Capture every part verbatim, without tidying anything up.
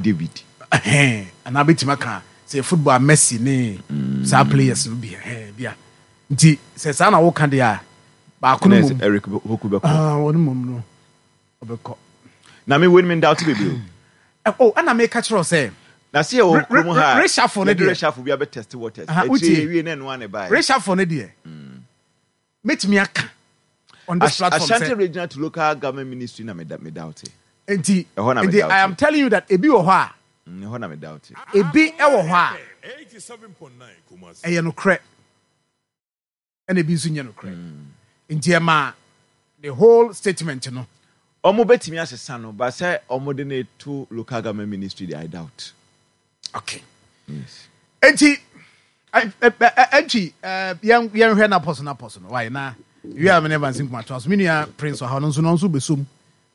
David. Ɛhɛn, anaa bɛtumi aka sɛ football a, Messi ne saa players no bi, ɛhɛn bia. Nti sɛ saa na woka deɛ a, baako no ɛna mom Eric Poku bɛkɔ. Ah, wɔn mom no ɔbɛkɔ. Na me wei mi doubt bebree o. Ɛ, oh, ɛna meka kyerɛ wo sɛ na se yɛ wɔ Re- kurom re- ha, reshuffle no yɛde deɛ. Reshuffle bi abɛ test waters. Aha, akyire wotie. ewie na ɛnoa ne ba. Reshuffle no deɛ, mɛtumi aka on this platform Ashanti sɛ Regional to Local Government Ministry na me da me doubt. Nti Ɛhɔ na me nti doubt. I am telling you that ebi wɔ hɔ a ɛhɔ na me doubt. Ebi ɛwɔ hɔ a ɛyɛ nokorɛ, ɛna ebi nso nyɛ nokorɛ. Nti ɛma the whole statement no Ɔmo bɛtumi asesa no ba sɛ ɔmo de ne to Local Government Ministry de, I doubt. Okay. Yes. Nti ɛntwi yɛn yɛnhwɛ na pɔso na pɔso no wae na wie a mene Evans Nkuma toa so. Me nua Prince ɔha no nso no nso bɛsom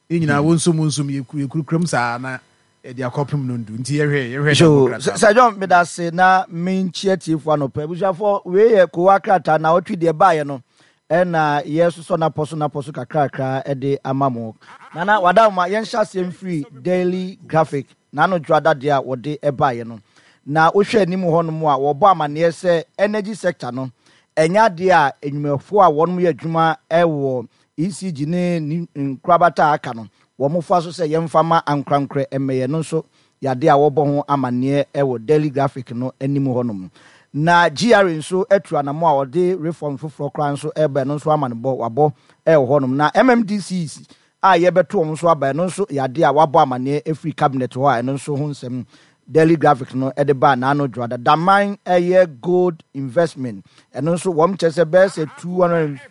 yɛn nyinaa, wɔn nsom wɔn nsom yɛkurukuram saa na yɛde akɔpem no ndu. Nti yɛhwɛ yɛhwɛ So Democrat. Sir John, meda ase na menkyia tiefoɔ anɔpɛ. Abusuafoɔ, wei yɛ kowa krataa na ɔtwe deɛ baeɛ no, ɛna yɛsosɔ napɔ so napɔ so kakrakra de ama mo. Nana wadama, yɛnhyɛ aseɛ mfiri Daily Graphic n'ano dwoada deɛ a wɔde baeɛ no. Na wohwɛ anim hɔnom a, wɔbɔ amanneɛ sɛ energy sector no, ɛnyɛ adeɛ a nnwumayɛfoɔ a wɔnom yɛ adwuma ɛwɔ E C G ne ne nkorabata a aka no wɔn fa so sɛ yɛmfa ma ankorankorɛ mmɛyɛ no nso yade a wɔbɔ ho amanneɛ ɛwɔ Daily Graphic no anim hɔnom. Na G R A nso atu anamɔ a ɔde reform foforɔ koraa nso ɛreba, ɛno nso ama no bɔ wabɔ ɛwɔ hɔnom. Na M M D Cs a yɛbɛto wɔn nso aba, ɛno nso yade a wabɔ amanneɛ efiri cabinet hɔ a ɛno nso ho nsɛm Daily Graphic no ɛde ba n'ano dwoada. Daman ɛyɛ gold investment, ɛno nso wɔn kyerɛ sɛ bɛyɛ sɛ two hundred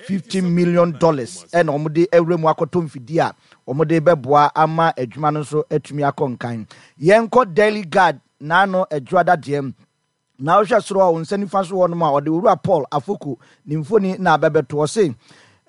fifty million dollars ɛna wɔn de awura mu akɔtɔ mfidie a wɔn de bɛboa ama adwuma no nso atumi akɔ nkan. Yɛnkɔ Daily Guard n'ano adwoada deɛ. Na wohwɛ soro a, wɔn nsa nifa so hɔ nom a, ɔde Owura Paul Afoko ne mfoni na abɛbɛto. Ɔse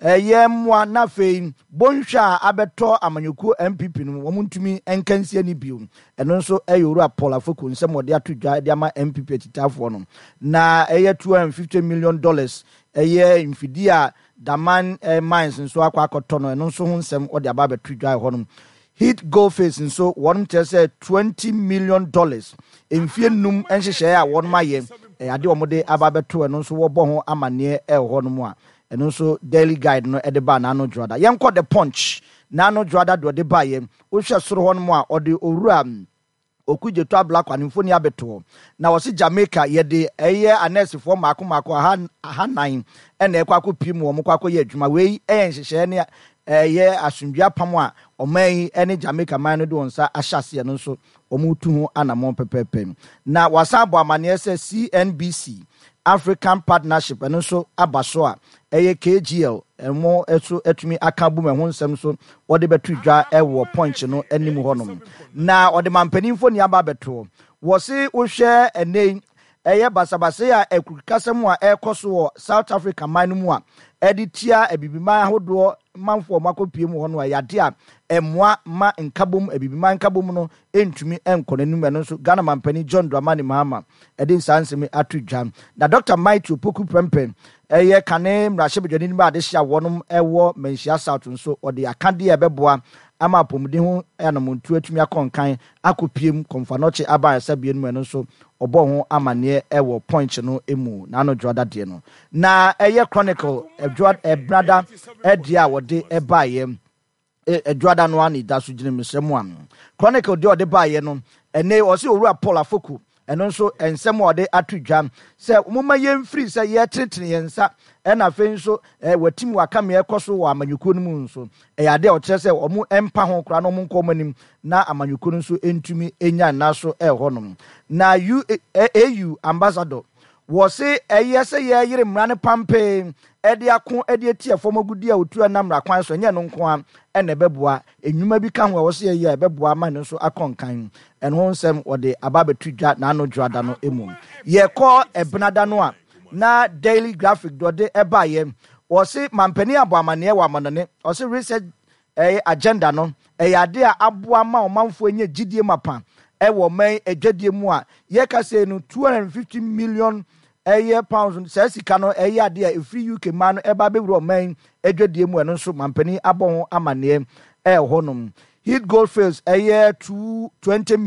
ɛyɛ mmoa na afei bɔnhwɛ a abɛtɔ amanyɔkuo N P P no, wɔn ntumi nka nsia ni bio. Ɛno nso ɛyɛ Owura Paul Afoko nsɛm wɔde ato dwa de ama N P P akyitaafoɔ no. Na ɛyɛ two hundred and fifty million dollars ɛyɛ mfidie a Daman eh, Mines nso akɔ akɔtɔ no, ɛno nso ho nsɛm wɔde aba abɛto dwa hɔ nom. Heath Goldfields nso, wɔn kyerɛ sɛ twenty million dollars mfie num nhyehyɛeɛ a wɔn ayɛ, ɛyɛ adeɛ a wɔde aba abɛto. Ɛno nso wɔbɔ ho amanneɛ ɛwɔ hɔ nom a ɛno nso Daily Guide no ɛde ba n'ano dwoada. Yɛnkɔ The Punch n'ano dwoada deɛ ɔde baeɛ. Wohwɛ soro hɔ nom a, ɔde Owura Okudzeto Ablakwa ne mfoni abɛtoɔ na wɔsi Jamaica yɛde ɛyɛ anɛɛsefoɔ mmaako mmaako aha ahanan ɛna ɛkɔ akɔpie mu, wɔn kɔ akɔyɛ adwuma. Wei ɛyɛ nhyehyɛeɛ ne ɛyɛ asomdwe apam a ɔman yi ɛne Jamaica man no de wɔn nsa ahyɛ aseɛ no nso wɔn tu ho anammɔn pɛpɛɛpɛ. Na wasan abɔ amanneɛ sɛ C N B C African Partnership, ɛno nso aba so a ɛyɛ K G L ɛmo nso atumi aka bom. Ɛho nsɛm nso wɔde bɛto dwa ɛwɔ Punch no anim hɔnom. Na ɔde mampanimfo ni aba abɛtoɔ. Wɔse wohwɛ ɛnɛ yi, ɛyɛ basabasa a akurukasɛm a ɛrekɔ so wɔ South Africa man no mu a ɛde tia abibiman ahodoɔ manfoɔ a wɔakɔpie mu hɔ no a, yɛade a ɛmmoa ma nkabom, abibiman nkabom no ntumi nkɔ n'anim. Ɛno nso Ghana mampanin John Dramani Mahama ɛde nsaa nsɛm ato dwa. Na Doctor Matthew Opoku Prempeh, ɛyɛ kane mmarahyɛbadwani no mu adehyɛ a wɔnom ɛwɔ Manhyia South nso, ɔde akadeɛ a ɛbɛboa ama apɔmuden ho anamontuo atumi akɔ nkan akɔpiem Komfo Anokye aba ayasabea no mu, ɛno nso ɔbɔ ho amanneɛ ɛwɔ Punch no mu n'ano dwoada deɛ no. Na ɛyɛ Chronicle ɛdwoa ɛbrada ɛdeɛ a wɔde ɛbaeɛ ɛdwoada no ano da so gyina mesrɛ mu ano. Chronicle deɛ ɔde baeɛ no ɛnɛ, ɔsɛ Owura Paul Afoko, ɛno nso nsɛm a ɔde ato dwa sɛ momma yɛmfiri sɛ yɛtenetene yɛn nsa, ɛna afei nso ɛ watim waka mmea ɛkɔ so wɔ amanyɔkuo no mu nso, ɛyɛ adeɛ a ɔkyerɛ sɛ ɔmo mpa ho koraa na ɔmo nkɔ ɔmo anim na amanyɔkuo no nso ntumi nya nna so ɛwɔ hɔnom. Na U A U ambassador wɔse ɛyɛ sɛ yɛyere mmara no pampee ɛde ako ɛde ati ɛfɔm agudi a otu ɛnam mmara kwan so, ɛnyɛ no nko a ɛna ɛbɛboa. Enwuma bi ka ho a wɔsɛ yɛyɛ a ɛbɛboa ama no nso akɔ nkan. Ɛno ho nsɛm wɔde aba abɛto dwa n'ano dwoada no mu. Yɛkɔ ɛbenada no a, na Daily Graphic deɛ ɔde ɛbaeɛ, wɔse mampanin abɔ amanneɛ wɔ amanɔne. Ɔse reset ɛyɛ agenda no ɛyɛ ade a aboa ma ɔmanfoɔ anya gyidie mapa ɛwɔ ɔman adwadie mu a yɛka sɛ no two hundred and fifty million ɛyɛ pounds. Saa sika no ɛyɛ ade a ɛfiri U K man no ɛba abɛwura ɔman adwadie mu. Ɛno nso mampanin abɔ ho amanneɛ ɛwɔ hɔnom. Heath Goldfields ɛyɛ two twenty.